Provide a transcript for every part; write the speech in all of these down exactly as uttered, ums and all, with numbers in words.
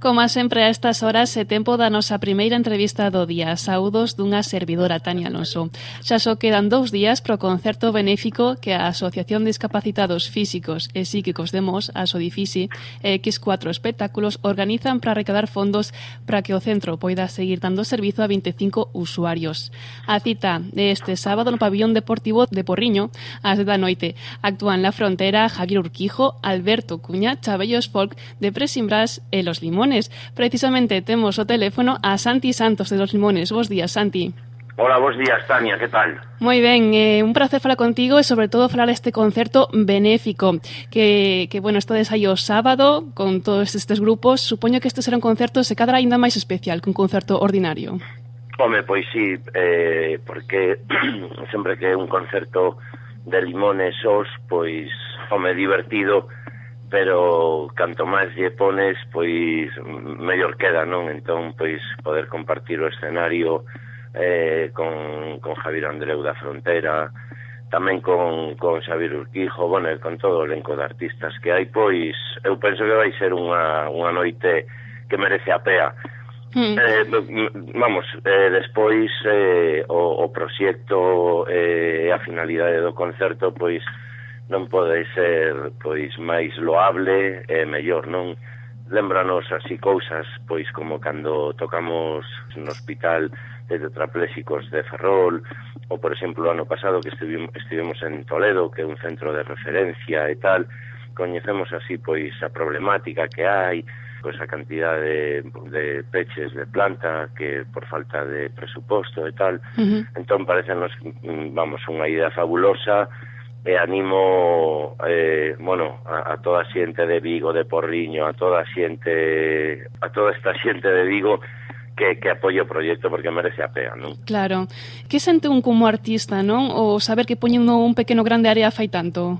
Como sempre a estas horas é tempo da nosa primeira entrevista do día. Saúdos dunha servidora, Tania Alonso. Xa só quedan dous días pro concerto benéfico que a Asociación de Discapacitados Físicos e Psíquicos de Mos, a Sodifisi, e equis cuatro espectáculos organizan para recadar fondos para que o centro poida seguir dando servizo a veinticinco usuarios. A cita de este sábado no pabillón deportivo de Porriño, ás dez da noite. Actúan La Frontera, Javier Urquijo, Alberto Cuña, Chabellos Folk, de Presimbras e Los Limones. Precisamente temos o teléfono a Santi Santos de Los Limones. Bos días, Santi. Hola, bos días, Tania, que tal? Moi ben, eh, un placer falar contigo e sobre todo falar este concerto benéfico que, que bueno, estades aí o sábado con todos estes grupos. Supoño que este será un concerto se cadra ainda máis especial que un concerto ordinario. Home, pois sí, eh, porque sempre que é un concerto de Limones os, pois, home, divertido, pero canto máis lle pones, pois mellor queda, non? Entón, pois, poder compartir o escenario eh, con, con Javier Andreu da Frontera, tamén con, con Xavier Urquijo, bueno, con todo o elenco de artistas que hai, pois, eu penso que vai ser unha, unha noite que merece a pea. Mm. Eh, vamos, eh, despois eh, o, o proxecto e eh, a finalidade do concerto, pois, non pode ser, pois, máis loable e mellor, non? Lembranos así cousas, pois, como cando tocamos no hospital de tetraplésicos de Ferrol, ou, por exemplo, o ano pasado que estivimos, estivemos en Toledo, que é un centro de referencia e tal, coñecemos así, pois, a problemática que hai, pois, a cantidad de, de peches de planta, que por falta de presuposto e tal. Uh-huh. Entón, parecenos, vamos, unha idea fabulosa, e animo eh, bueno, a, a toda a xente de Vigo, de Porriño, a toda a xente, a toda esta xente de Vigo que, que apoie o proxecto porque merece a pena, non? Claro. Que sente un como artista, non? O saber que poñendo un pequeno grande área fai tanto?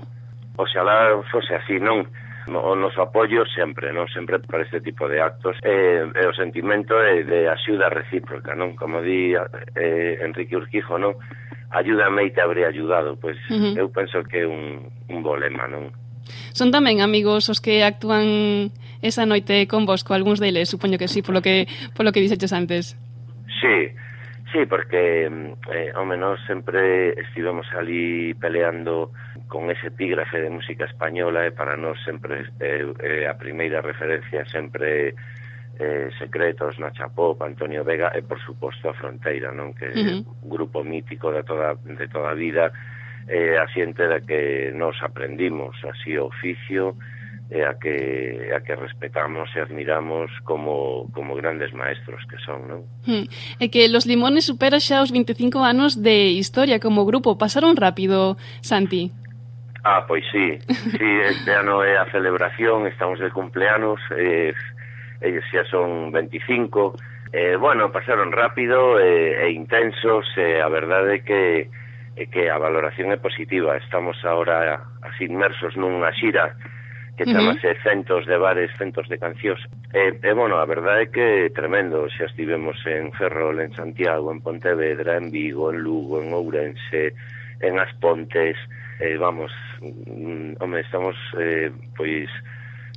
Oxalá fose así, non? O noso apoio sempre, non? Sempre para este tipo de actos. E, e o sentimento de, de axuda recíproca, non? Como di eh, Enrique Urquijo, non? Ayúdame e te habré ayudado, pois uh-huh. eu penso que é un, un bo lema, non? Son tamén amigos os que actúan esa noite con vos, co algúns deles, supoño que sí, polo que polo que dixeches antes. Sí, sí, porque, eh, home, nós sempre estivemos ali peleando con ese epígrafe de música española e para nós sempre eh, eh, a primeira referencia sempre Eh, Secretos, Nacha Pop, Antonio Vega e, por suposto, a Fronteira, non? Que é uh-huh. un grupo mítico de toda, de toda a vida, eh, a xente da que nos aprendimos así o oficio e a que, a que respetamos e admiramos como, como grandes maestros que son, non? Uh-huh. E que Los Limones supera xa os veinticinco anos de historia como grupo. Pasaron rápido, Santi? Ah, pois sí, sí, este ano é a celebración, estamos de cumpleanos, eh, ellos xa son veinticinco, eh, bueno, pasaron rápido e, e intensos, e a verdade é que, é que a valoración é positiva. Estamos agora así inmersos nunha xira que chamase uh-huh. Centos de Bares, Centos de Cancións, e, e bueno, a verdade é que é tremendo. Xa estivemos en Ferrol, en Santiago, en Pontevedra, en Vigo, en Lugo, en Ourense, en As Pontes, eh, vamos, mm, home, estamos, eh, pois,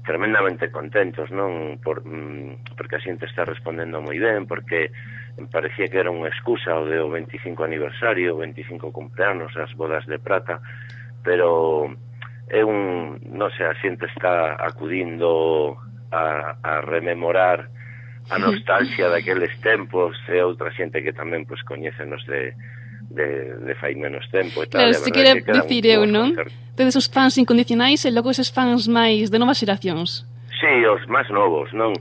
tremendamente contentos, non? Por, mm, porque a xente está respondendo moi ben, porque parecía que era unha excusa o de o veinticinco aniversario, o veinticinco cumpleanos, as bodas de prata, pero é un, non sei, a xente está acudindo a, a rememorar a nostalgia daqueles tempos, e outra xente que tamén pois coñécenos de de, de fai menos tempo e tal. Claro, se quere dicir eu, non? Tedes os fans incondicionais e logo eses fans máis de novas xeracións. Sí, os máis novos, non?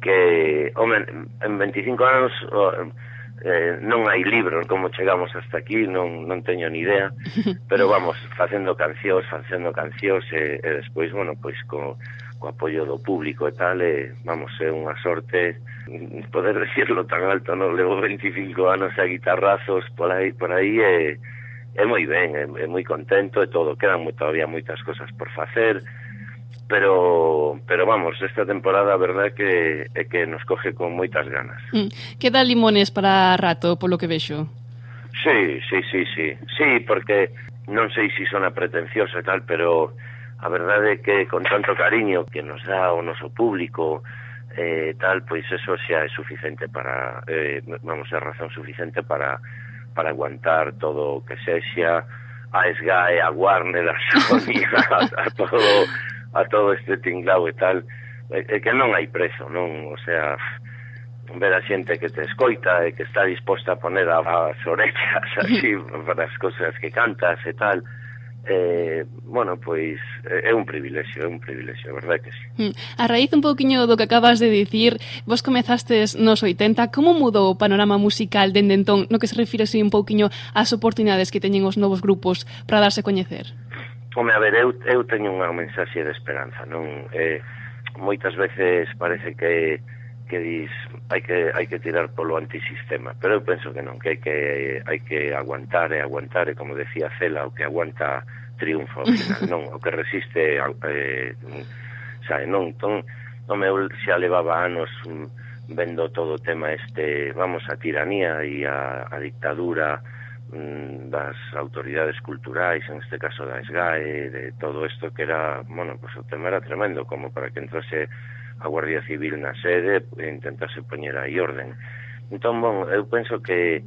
Que, home, en veinticinco anos eh, non hai libros como chegamos hasta aquí, non, non teño ni idea, pero vamos, facendo cancións, facendo cancións e, e despois, bueno, pois co, co apoio do público e tal, e, vamos, é unha sorte poder decirlo tan alto, non? Levo veinticinco anos a guitarrazos por aí, por aí e é moi ben, é, é moi contento e todo, quedan moi, todavía moitas cosas por facer, pero pero vamos, esta temporada a verdade que é que nos coge con moitas ganas. Mm. Queda Limones para rato, polo que vexo. Sí, sí, sí, sí, sí, porque non sei se sona pretencioso e tal, pero a verdade é que con tanto cariño que nos dá o noso público, eh, tal, pois eso xa é suficiente para, eh, vamos, é razón suficiente para para aguantar todo o que sexa a S G A E, a Warner, a Sony, a, a todo a todo este tinglao e tal, é, é que non hai prezo, non, o sea, ver a xente que te escoita e que está disposta a poner as orellas así para as cosas que cantas e tal, eh, bueno, pois é un privilexio, é un privilexio, verdade que sí. A raíz un pouquiño do que acabas de dicir, vos comezastes nos oitenta, como mudou o panorama musical dende entón, no que se refire así un pouquiño ás oportunidades que teñen os novos grupos para darse a coñecer? Home, a ver, eu, eu teño unha mensaxe de esperanza, non? Eh, moitas veces parece que que dis, hai que hai que tirar polo antisistema, pero eu penso que non, que hai que hai que aguantar e aguantar, e como decía Cela, o que aguanta triunfo ao final, non, o que resiste eh, sabe, non, ton, non me xa levaba anos vendo todo o tema este, vamos, a tiranía e a, a dictadura mm, das autoridades culturais, en este caso da S G A E, de todo isto que era, bueno, pues o tema era tremendo, como para que entrase a Guardia Civil na sede e intentase poñer aí orden. Entón, bon, eu penso que,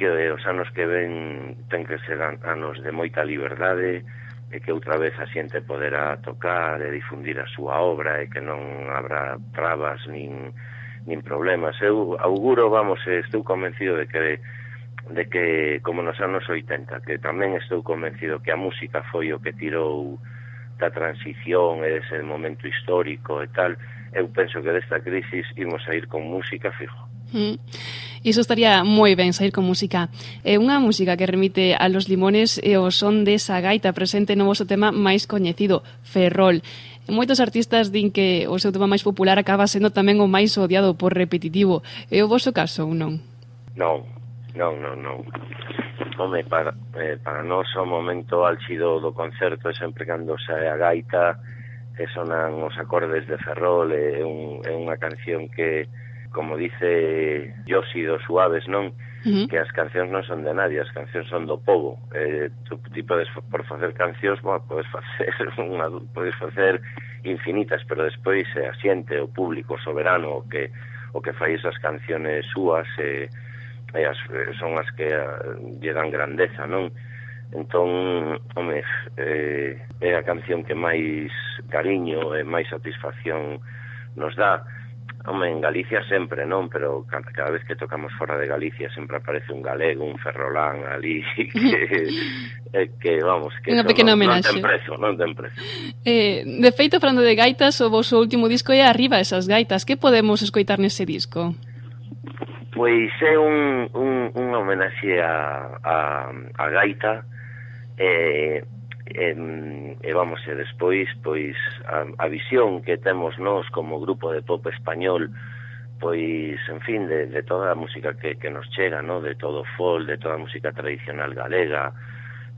que os anos que ven ten que ser anos de moita liberdade, e que outra vez a xente poderá tocar e difundir a súa obra, e que non habrá trabas nin, nin problemas. Eu auguro, vamos, estou convencido de que de que, como nos anos oitenta, que tamén estou convencido que a música foi o que tirou da transición e dese momento histórico e tal. Eu penso que desta crisis imos a ir con música fijo. Mm. Iso estaría moi ben, sair con música. É unha música que remite a Los Limones e o son desa gaita presente no vosso tema máis coñecido, Ferrol. Moitos artistas din que o seu tema máis popular acaba sendo tamén o máis odiado por repetitivo. É o vosso caso ou non? Non, non, non, non. Home, para, eh, para nós o momento álxido do concerto é sempre cando sae a gaita e sonan os acordes de Ferrol, é, un, é unha canción que, como dice Yoshi dos Suaves, non? Uh-huh. Que as cancións non son de nadie, as cancións son do povo. Eh, tu, ti podes, por facer cancións, bueno, podes facer unha, podes facer infinitas, pero despois é a xente, o público soberano, o que, o que fai esas canciones súas, e, e as, son as que lle dan grandeza, non? Entón, home, eh, é a canción que máis cariño e máis satisfacción nos dá. Home, en Galicia sempre, non? Pero cada, cada vez que tocamos fora de Galicia sempre aparece un galego, un ferrolán ali, que, eh, que vamos, que non, non ten prezo, non ten prezo. Eh, de feito, falando de gaitas, o vosso último disco é Arriba esas gaitas. Que podemos escoitar nese disco? Pois é un, un, un homenaxe a, a, a gaita, e, e, e vamos, e despois pois a, a visión que temos nós como grupo de pop español, pois, en fin, de, de toda a música que, que nos chega, no? De todo o folk, de toda a música tradicional galega.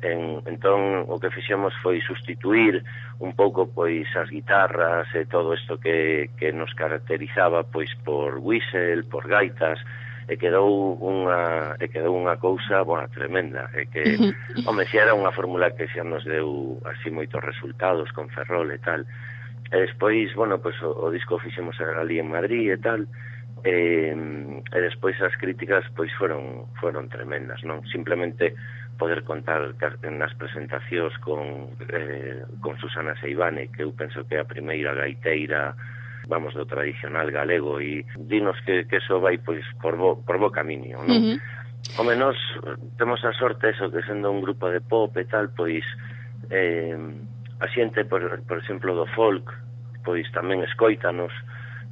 En, entón, o que fixemos foi sustituir un pouco pois as guitarras e todo isto que, que nos caracterizaba pois por whistle, por gaitas, e quedou unha e quedou unha cousa, bueno, tremenda, e que, home, xa era unha fórmula que xa nos deu así moitos resultados con Ferrol e tal. E despois, bueno, pues o, o disco fixemos ali en Madrid e tal, e, e despois as críticas pois foron foron tremendas, non? Simplemente poder contar nas presentacións con eh, con Susana Seivane, que eu penso que é a primeira gaiteira, vamos, do tradicional galego, e dinos que, que eso vai pois por bo, por bo camiño, non? Uh-huh. Home, nós temos a sorte eso, que sendo un grupo de pop e tal, pois eh, a xente, por, por exemplo, do folk, pois tamén escoítanos,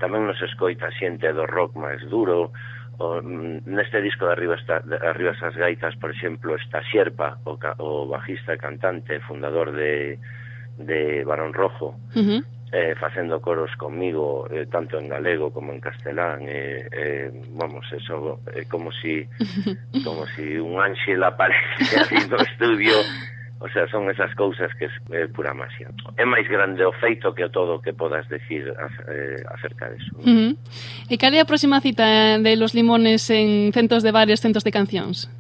tamén nos escoita a xente do rock máis duro. O, neste disco de Arriba, está, de Arriba esas gaitas, por exemplo, está Xerpa, o, o bajista e cantante, fundador de, de Barón Rojo, uh-huh. Eh, facendo coros conmigo, eh, tanto en galego como en castelán, eh, eh, vamos, eso é eh, como si como si un ángel aparece ali no estudio. O sea, son esas cousas que é eh, pura magia. É máis grande o feito que o todo que podas decir eh, acerca deso, ¿no? Uh-huh. E cal é a próxima cita de Los Limones en centos de bares, centos de cancións?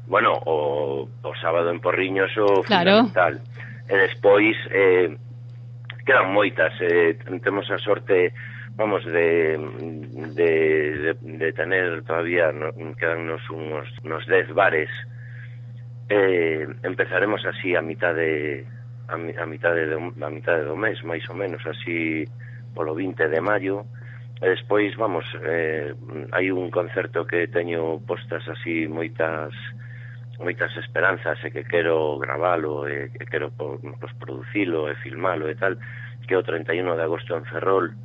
Bueno, o, o sábado en Porriños o claro. Fundamental. E despois eh, quedan moitas, eh, temos a sorte vamos, de, de, de, de tener todavía, no, quedannos unos, unos dez bares, eh, empezaremos así a mitad de a, a mitad de a mitad de do mes, máis ou menos, así polo vinte de maio. E despois, vamos, eh, hai un concerto que teño postas así moitas moitas esperanzas e que quero gravalo e que quero pues, producilo e filmalo e tal, que é o treinta e un de agosto en Ferrol,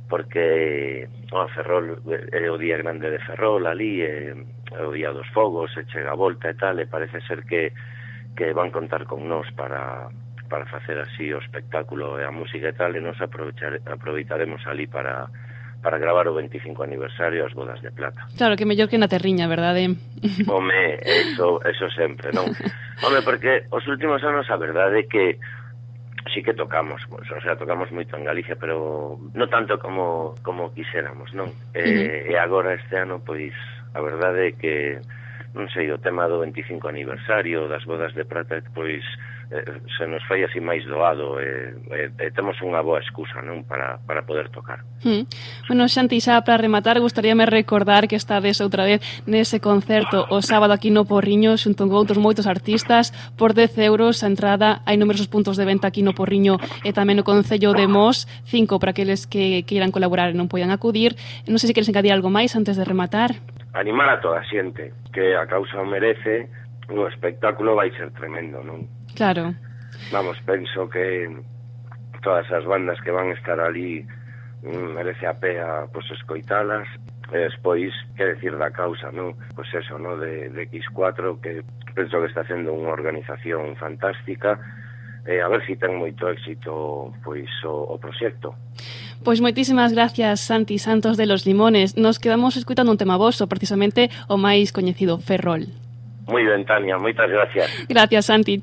porque oh, Ferrol é o día grande de Ferrol ali, é, é o día dos fogos, e chega a volta e tal, e parece ser que, que van contar con nós para para facer así o espectáculo e a música e tal, e nos aproveitaremos ali para para gravar o veinticinco aniversario as bodas de plata. Claro, que mellor que na terriña, verdade? Home, eso, eso sempre, non? Home, porque os últimos anos a verdade é que sí que tocamos, pues, o sea, tocamos moito en Galicia, pero non tanto como como quixéramos, non? E, uh-huh. e agora este ano, pois, a verdade é que, non sei, o tema do veinticinco aniversario das bodas de plata, pois, eh, se nos fai así máis doado e, e, e temos unha boa excusa, non, para, para poder tocar. Mm. Bueno, Xanti, xa para rematar, gustaríame recordar que estades outra vez nese concerto o sábado aquí no Porriño xunto con outros moitos artistas por dez euros a entrada. Hai numerosos puntos de venta aquí no Porriño e tamén no Concello de Mos, cinco para aqueles que queiran colaborar e non poidan acudir. Non sei se queres engadir algo máis antes de rematar. Animar a toda a xente que a causa o merece, o espectáculo vai ser tremendo, non? Claro. Vamos, penso que todas as bandas que van estar ali merece a pena, pois, escoitalas. E despois, que decir da causa, non? Pois eso, non? De, de equis cuatro, que penso que está facendo unha organización fantástica, e a ver se si ten moito éxito, pois, o, o proxecto. Pois moitísimas gracias, Santi Santos de Los Limones. Nos quedamos escutando un tema voso, precisamente o máis coñecido, Ferrol. Moi ben, Tania, moitas gracias. Gracias, Santi.